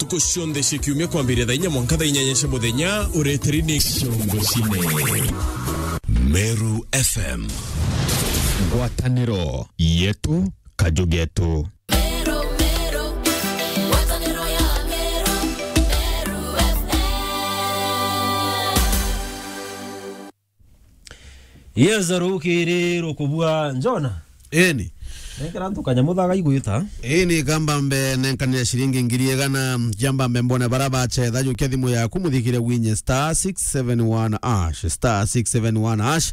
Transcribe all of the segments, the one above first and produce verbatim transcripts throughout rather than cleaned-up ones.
Ku cionthe cia kiumia kwambiria thaa inya mwanka thaa inyanya cia muthenya, ureteri ni Ciongo Cine. Meru F M. Ngwataniro yetu, kaju getu. Meru, Meru, ngwataniro ya Meru, Meru F M. Yes, rukiri rukubua Njona. Eni. Nenkera antu kanyamu thaga igwita. Eni, kamba mbe nenkanire ciringi ngiri igana, jamba mbe mbone bara bacetha, jukia thimu yaku, muthikire winye star six seven one hash, star six seven one hash.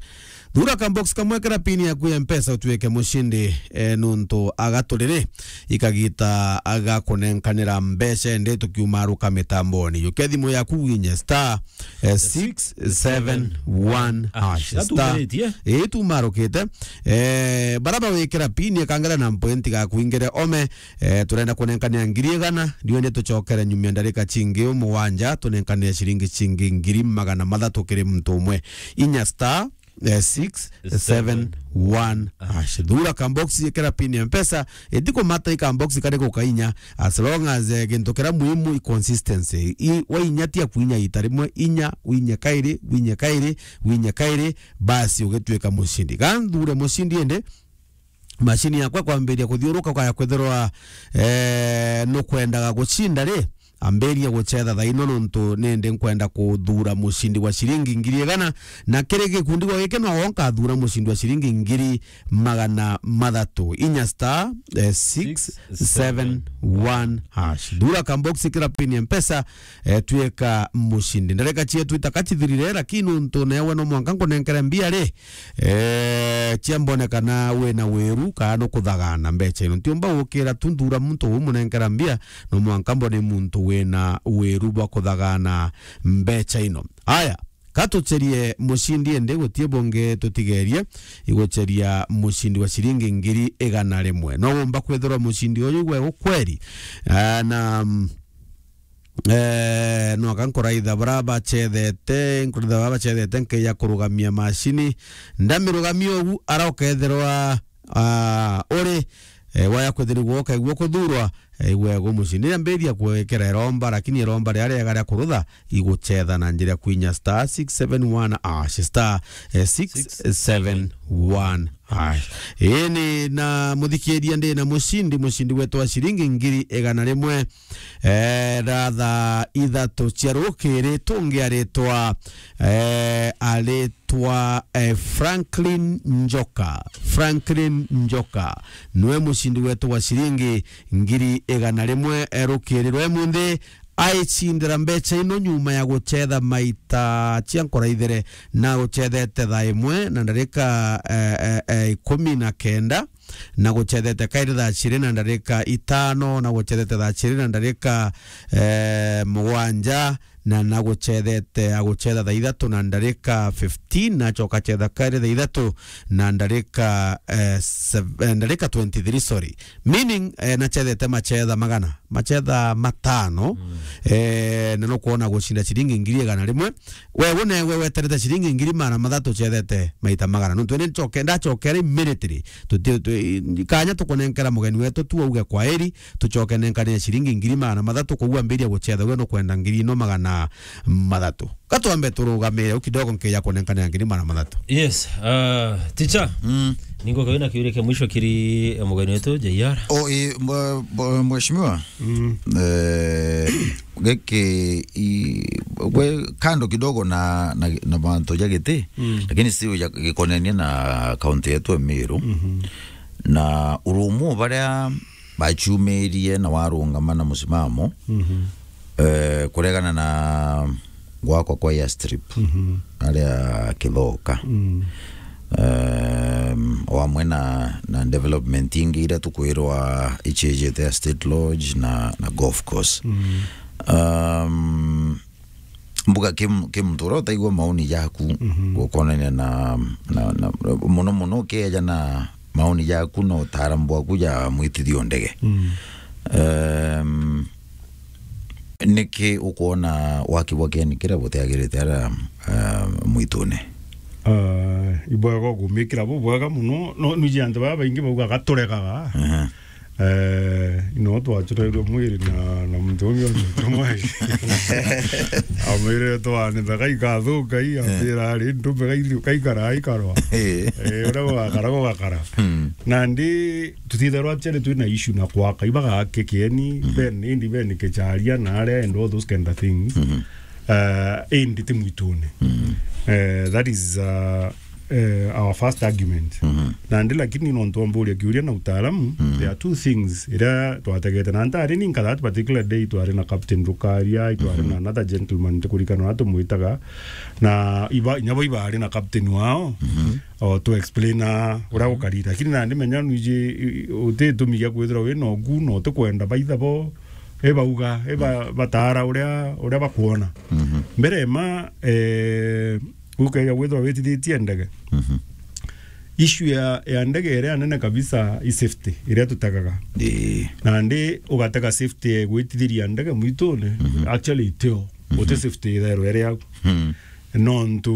Thura ka box kamwe kera pin yaku ya Mpesa, utuike mucindi, eh, nuntu agaturire ikagita agakunenkanira mbeca ende tukiumaruka mitamboni. Jukia thimu yaku winye star eh, six seven one hash. Star. Gatugiritie. Ii, tumarukite. Eh, bara bawikira pin, kangera na mpointi gakuingire ome. Eh, turenda kunenkania ngiri igana, ndiwe ni tucokere nyuma ya ndarika cingi mugwanja, tunenkanie ciringi cingi ngiri magana mathatu kiri muntu umwe. Inya star, eh, six seven one hash. Thura ka box, ikira pin ya Mpesa, itikumata i ka box kari gukainya, as long as, eh, gintu kiria muhimu i consistency. I, wainya tia kuinya ita rimwe, inya, winye kairi, winye kairi, winye kairi, basi ugituika mucindi. Ga nthure mucindi indi, macini yakwa kwambiria kuthiuruka, ukaya kwithirwa, eh, nukwendaga gucinda ri, ambiria gucetha thaino, nontu nindi nkwenda kuthura mucindi wa ciringi ngiri igana, na kiri gikundi gwa giki no nkathura mucindi wa ciringi ngiri magana mathatu. Inya star, eh, six seven one hash. Thura ka box, kira pin ya Mpesa, eh, tuika mucindi. Ndarika cietu itaka cithirire, lakini nontu newe no mwanka nkunenkere mbia ri, eh, cia mbone kana wina wiru kana nukuthagana mbeca ino. Ntiumba gukira tu nthura muntu umunenkera mbia, no mwanka mbone muntu wina wiru bwa kuthagana mbeca ino. Aya, ka tucerie mucindi indi, gutie bungi tutigerie iguceria mucindi wa ciringi ngiri igana rimwe. No wumba kwithirwa mucindi uyu gwe ukweri? Ah, na, mm, eh, no aka nkuraitha bara bacethete, nkuraitha bara bacethete, nkeja kurugamia macini. Ndamirugamia ugu, ara ukethirwa, ah, uri, eh, waya kwithirwa ukaigua kuthurwa, eh, igwe gu mucindi. Riria mbiria kwikira iromba, lakini iromba riria riega ria kurutha, igucetha na njira ya kwinya star six seven one hash, star, eh, six seven one hash. Ini na muthikiria, ndi na mucindi, mucindi wetu wa ciringi ngiri igana rimwe. Eh, ratha ithatu cia rukiri, tungi aritwa, eh, aritwa, eh, Franklin Njoka. Franklin Njoka niwe mucindi wetu wa ciringi ngiri igana rimwe, eh, rukiri rwe munthi. Aicindira mbeca ino nyuma ya gucetha maita cia nkuraithere, na gucethete thaa imwe na ndarika, eh, eh, eh, ikumi na kenda, na gucethete kairi thaa ciri na ndarika itano, na gucethete thaa ciri na ndarika, eh, mugwanja, na, na gucethete, agucetha thaa ithatu na ndarika fifteen, na acoka acetha kairi thaa ithatu na ndarika, eh, sev-, eh, ndarika twenty-three, sorry. Meaning, eh, nacethete macetha magana, macetha matano, eh, na nukwona gucinda ciringi ngiri igana rimwe. We, we newe weterete ciringi ngiri magana mathatu, ucethete maita magana. Nontu ni ncoke, ndacokere immediately. Tuti, tu-, kanya tukunenkera mugeni wetu tu auge kwaeri, tucoke nenkanire ciringi ngiri magana mathatu, koguo ambiria gucetha, we nukwenda ngiri ino magana mathatu. Ka twambe turugamire u kidogo, nkeja kunenkanira ngiri magana mathatu. Yes, uh, teacher. Mm. Ningo kawina kiuria kia mwisho kiri, eh, mugeni wetu, J R. O, i, mwe-, mwe-, mheshimiwa. Mm. Eh, giki, i, gwe kando kidogo na, na, na mantu ja giti, mm, lakini still ja gikonenie na kaunti yetu ya Meru. Mhm. Na urumu baria baciumirie na warungama na musimamo, mhm, eh, kuregana na gwakwa kwa airstrip, mhm, aria Kithoka. Mm. Em, o amwe na, na development ingi iria tukwirwa iciejete ya State Lodge na, na golf course. Mm. Em, mbuga ki, ki muntu uria utaigua maoni jaku, mhm, gukonania na, na, na, muno muno ukieja na maoni jaku na utaaramu bwaku ja mwitithio ndege. Mm. Em, niki ukwona waki bwa kieni kiria butiagirite aria, eh, mwitune? Ah, ibwega ugumikira bubwega muno, no, nuji antu baba baingi baugaga turegaga. Aha. Eh, ino twachoreirwe mwiri na, na muntu umwe onyete mwai. Amwirire twanitha gaikathuka i, ambira ari ndume gai-, gaikara ikarwa. Eh. Eh, uria gugakara gugakara. Mm. Nandi tutitherwa actually twina issue na kwaka, ibagake kieni, mhm, ben, indi ben kicharia na aria and all those kind of things. Mhm. Eh, indi ti mwitune. Mhm. Eh, that is, uh, eh, our first argument. Mhm. Nandi lakini nontu wamburia kiuria na utaalamu, mhm, there are two things iria twategete. Na ntari ni nka that particular day twari na Captain Rukaria, itwari, mhm, na another gentleman, ntikurikana uria tumwitaga. Na iba, inya bo ibari na captain wao, mhm, o tu explain uria, mhm, gukari. Lakini nandi menya nwiji, i-, uti itumi gia kwithirwa wina ugu, na utikwenda baitha bo, ibauga, iba-, mhm, bataara uria, uria bakwona. Mhm. Mbere ma, eh, ukeja kwithirwa witithitie ndege. Mhm. Issue ya, ya ndege iria nene kabisa i safety, iria tutegaga. Ii. Nandi ugatega safety ya gwitithiria ndege mwitune, mhm, actually itio. Mhm. Uti safety itherwe iri au. Mhm. Nontu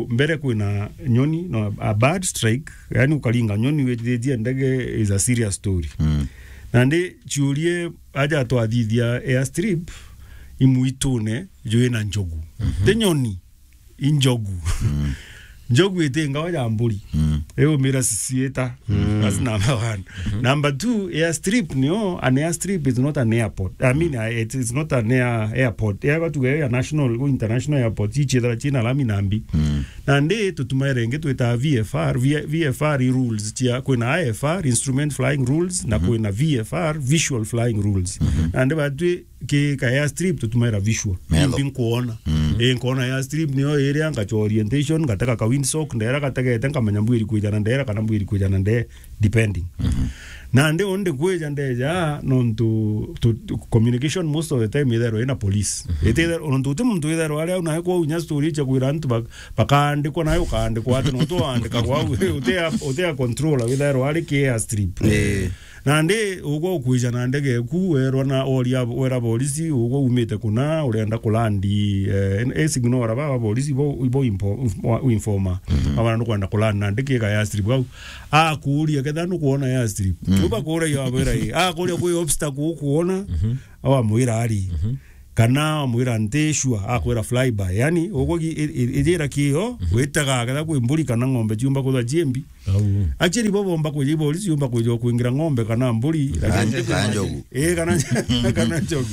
mbere kwina nyoni, no, a bad strike, yani ukaringa nyoni witithitie ndege is a serious story. Mhm. Nandi ciurie aja twathithia airstrip imwitune jwina njogu. Mhm. Ti nyoni. Injogu. Mm. Njogu iti ngawa ya mburi. Mm. Iumira ciciita. Mm. That's number one. Mm-hmm. Number two, airstrip nio, an airstrip is not an airport. I mean, uh, it is not an air, airport. Airport tuge ya national, international airport, ichiethera china lami nambi. Mm. Nandi tutumaire ingi twita V F R, V-, V F R i rules chia, kwina I F R, instrument flying rules, na, mm-hmm, kwina V F R, visual flying rules. Mm-hmm. Nandi batwi ki ka airstrip tutumaira visual. Melo. Imbi nkuona. Mm. Ii, nkuona airstrip niyo iria ngacha orientation, ngatega ka windsock, ndera gategete, nkamenya mbwiri kwijana ndera kana mbwiri kwijana nde, depending. Mhm. Nandi undi kwija ndeja, nontu tu, tu, communication most of the time itherwa ina police. Mhm. Iti itherwa, nontu uti muntu itherwa ari au nae kwou inya story chia kwira antu ba-, bakaandikwa nae ukaandikwa ati nontu waandika kwau, uti a, uti a controller witherwa ari ki airstrip. Eh. Nandi ugwe ukwija na ndege eku, werwa na oria, wera borisi, ugwe umite kuna, urenda kulandi, eh, e signal ora baba borisi bo, bo impo-, wa-, informa. Mhm. Abana nukwenda kulandi na ndege ka airstrip au. Akuria ketha nukwona airstrip. Mhm. Uba kura yo abera i. Akuria kwi obstacle ukuona. Mhm. Awa mwira ari. Mhm. Kana wamwira nti sure, akwira fly by. Yani, ugwe gi-, i-, i-, ijira kio, mhm, witega ketha kwi mburi kana ng'ombe ciumba kuthwa ciembi. Au. Actually, bo bomba kwija, iborisi yumba kwija kuingira ng'ombe kana mburi, lakini kana njogu. Eh, kana, kana njogu.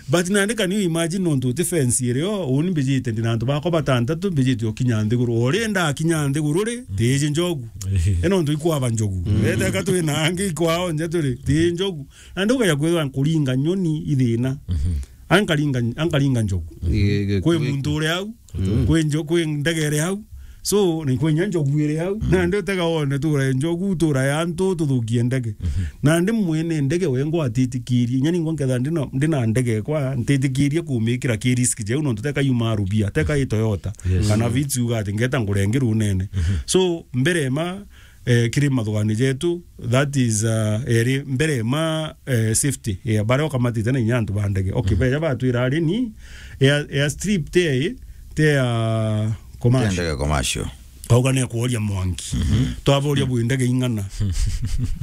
But nandi, can you imagine nontu uti fence irio, uni mbijite ndina antu bakwa batantatu, mbijite okinya nthiguru. Ori ndakinya nthiguru ri, tiji njogu. Eh. E nontu ikwaba njogu. Mm. Ete ka twi na angi ikwao nja turi, tiji njogu. Nandi ukaja kwithwa nkuringa nyoni ithina. Mhm. Ankaringa, ankaringa njogu. Ii, kwi muntu uri au, mm, kwi njo-, kwi ndege iri au. So, ni kwi nya njogu iri au. Mm. Nandi utega wone tura njogu, tura ya antu, tuthukie ndege. Mhm. Nandi mwene ndege wengwa atitikirie. Inya ningwa nketha ndina, ndina ndege kwa, ntitikirie kumikira ki risk jeu, nontu teka yuma rubia, teka i Toyota. Yes. Kana Vitz uga ati ngeta ngure ngi runene. Mhm. So, mbere ma, eh, kiri mathugani jetu, that is, uh, eri mbere ma, eh, safety ya baria ukamatite na inya antu ba ndege. Okay, mhm, beja batwira ari ni air, airstrip te, te ya commercial. Te ndege commercial. Kauga ni kuoria mwanki. Mhm. Twaboria bwi ndege ing'ana.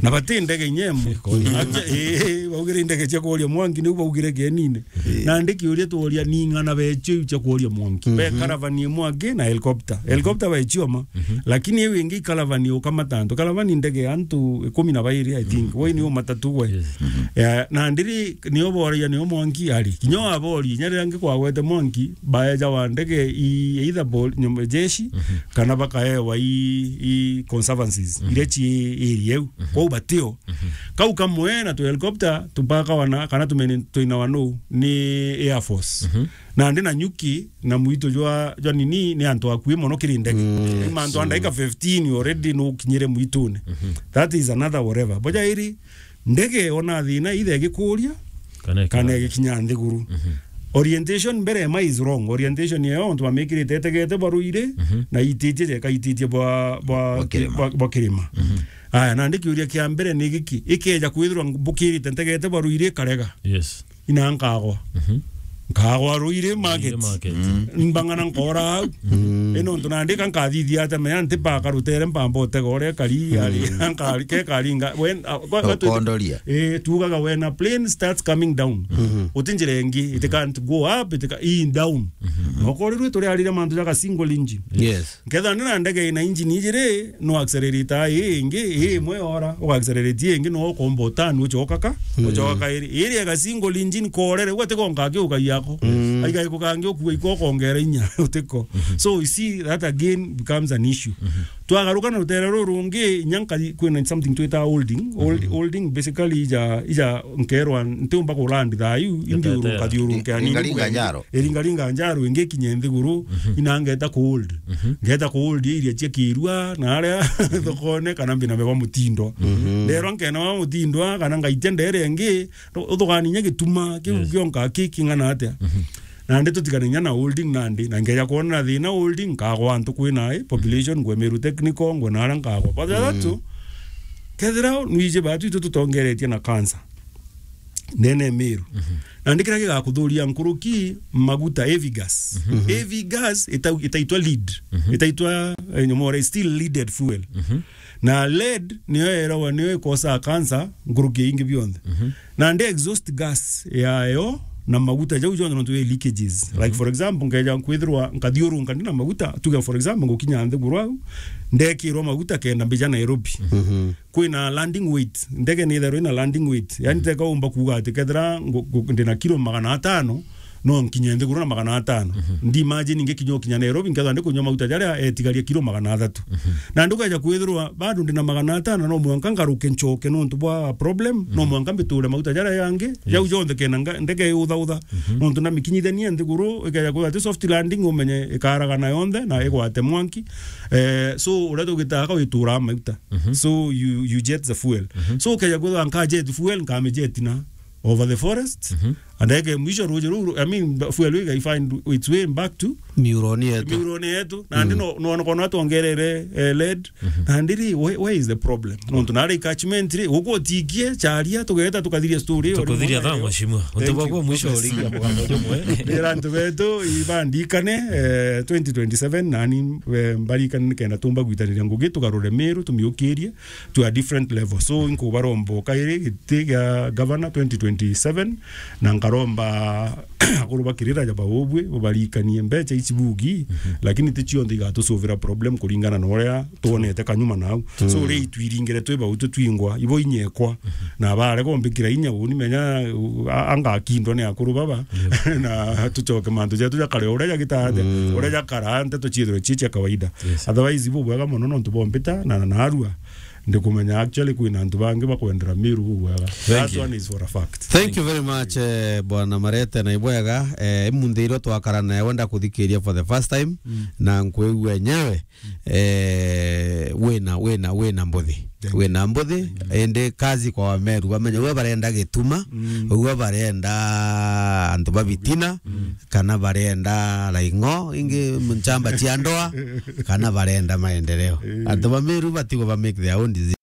Na bati ndege inya imwe. Kuoria. Acha, eh, baugire ndege cia kuoria mwanki, niu baugire kienine. Eh. Nandi kiuria tuoria ni ing'ana becio iu cia kuoria mwanki. Be, mhm, caravan imwe aki na helicopter. Helicopter bechioma. Mhm. Lakini iu ingi caravan ukamata antu. Caravan ndege ya antu ikumi na bairi, I think. Mhm. Wai ni umata tu we. Yes. Mhm. Ya, na ndiri nio boria nio mwanki ari. Kinya wabori, inya riria ngi kwagwete mwanki, baeja wa ndege i either bol-, nyum-, jeshi, mhm, kana bakaewa i, i conservancies, mhm, iria ci area iu. Mhm. Kwou batio. Mhm. Kau kamwe na tu helicopter, tupakawa na, kana tumene twinawa nu, ni Air Force. Mhm. Nandi na nyuki, na mwitu jwa, jwa nini, ni antu akui mono kiri ndege. Mm, ni mantu a so ndaika fifteen already nukinyire mwitune. Mhm. That is another whatever. Boja iri, ndege ona thina ithe igikuria, kana ikinya, kana igikinya nthiguru. Mhm. Orientation mbere ma is wrong. Orientation yeo antu bamikirite etegete barwire, mhm, na ititie jeka ititie bwa, bwa, bwa kirima. Bwa, bwa kirima. Mhm. Aya, nandi kiuria kia mbere ni giki, ikeja kwithirwa mbukirite ntegete barwire karega. Yes. Ina nkagwa. Mhm. Nkagwa rwire market. Rwire market. Mm. Mbang'ana nkora au. Mm. Ino ntu nandika nkathithia ate mea nti baka rutere mpamba utega uria kari, ari, nkari, ke kari nga, when, uh, kwa, kwa tu- Ukondoria. Eh, tugaga when a plane starts coming down. Uti njira ingi, it can't go up, it ca-, i down. Nokorirwe turi arire mantu jaga single engine. Yes. Nkethira ndi na ndege ina engine ijiri, no accelerator ii ingi, ii imwe ora, uga accelerate ii ingi, no ukomba utani ucoka ka, ucoka ka iri. Iri ega single engine korere, uga tiko nkagiuka yako. Aiga ikukangi ukua iko ukongera inya, utiko. So you see, that again becomes an issue. Twagaruka na rutere ruru rungi, inya nka-, kwina something twita holding. Hold-, holding basically ija, ija nkerwa ntiumba ku land thayu, indi uru nkathiurunke ani. Ingaringa njaro. Iringaringa njaro ingi kinye nthiguru, inangeta ku hold. Ngeta ku hold iria cia kirua, na aria thokone kana mbina meba mutindo. Nderwa nkena wa mutindo, kana ngaitia ndere ingi, uthugani inya gituma, kiu kionka ki king'ana atia. Nandi tutigane inya na holding nandi, na ngeja kwona na thina holding, nkagwa antu kwina, eh, population, ngwe Meru Technical, ngwe na aria nkagwa. But that too, kethira nwiji batu itu tutongeretie na cancer. Ndene Meru. Nandi kira gigakuthuria nkuruki maguta, heavy gas. Heavy gas ita-, itaitwa lead. Itaitwa, eh, nyomore, still leaded fuel. Na lead niyo erawa niyo ikosa cancer nkuruki ingi bionthe. Nandi exhaust gas yayo na maguta jau jonthe nontu wi leakages. Like for example, nkeja kwithirwa nkathiurunka ndi na maguta, tuge for example, ngukinya nthiguru au, ndekirwa maguta kenda mbija Nairobi. Kwina landing weight, ndege ni itherwa ina landing weight. Yani teka umba kuuga ati kethira ngu-, ngu-, ndina kiro magana atano, no nkinye nthiguru na magana atano. Ndi imagine ngikinya ukinya Nairobi, nkethwa ndi kunywa maguta jaria etigaria kiro magana athatu. Na ndugeja kwithirwa bado ndina magana atano, no mwanka ngaruke nchoke nontu bwa problem, no mwanka mbiture maguta jaria yangi, jau jonthe kena nga-, ndege iuthautha. Nontu ndamikinyithania nthiguru, ikeja kwithirwa ati soft landing umenye ikaragana yonthe na igwate mwanki. Eh, so uria tugitaga ka witura maguta. So you, you jet the fuel. So ukeja kwithirwa nka jet fuel, nkamijetina over the forest. And then mwisho ruji ruru, I mean, fuel iga find its way back to miuroni yetu. Miuroni yetu. Nandi no, no, no, no twongerere, eh, lead. Nandi ri, where, where is the problem? Nontu nari catchment ri, uko tikie, charia, tugeta, tukathiria story. Tukuthiria thaa, mheshimiwa. Uti bwa kwa mwisho urigia muganda jumwe. Ndira antu betu, ibandikane, eh, twenty twenty-seven, nani, eh, mbarikane nikenda tumba gwitaniria ngugi, tugarure Meru, tumiukirie to a different level. So, inkubaromba kairi giti gia governor twenty twenty-seven, na nkaromba akuru ba Kirira ja baubwe, bubarikanie mbecha ici bugi, lakini ti cionthe igatusolvera problem kuringana na uria twonete kanyuma nau. So, uria itwiringire twi bau tutwingwa, ibo inyekwa, na bare gombikira inya uni menya, uh, a-, angakindwa ni akuru baba, na tucoke mantu jetu jakare uria jagitande, uria jakara nteto ciithirwe ci cia kawaida. Otherwise, ibo bwega mono nontu bombita na, na narua. Ndikumenya actually kwina antu bangi bakwendera Meru bubwega. That one is for a fact. Thank you very much, eh, Bwana Marete, na ibwega, eh, imunthi iria twakara nawe ndakuthikiria for the first time, na nkwigua enyewe, eh, wina, wina, wina mbuthi. Wina mbuthi, indi kazi kwa Wameru, bamenya uwe barenda gituma, uwe barenda antu babitina, kana barenda raing'o, ingi nchamba cia ndoa, kana barenda maendeleo. Antu ba Meru batigo ba make their own decision.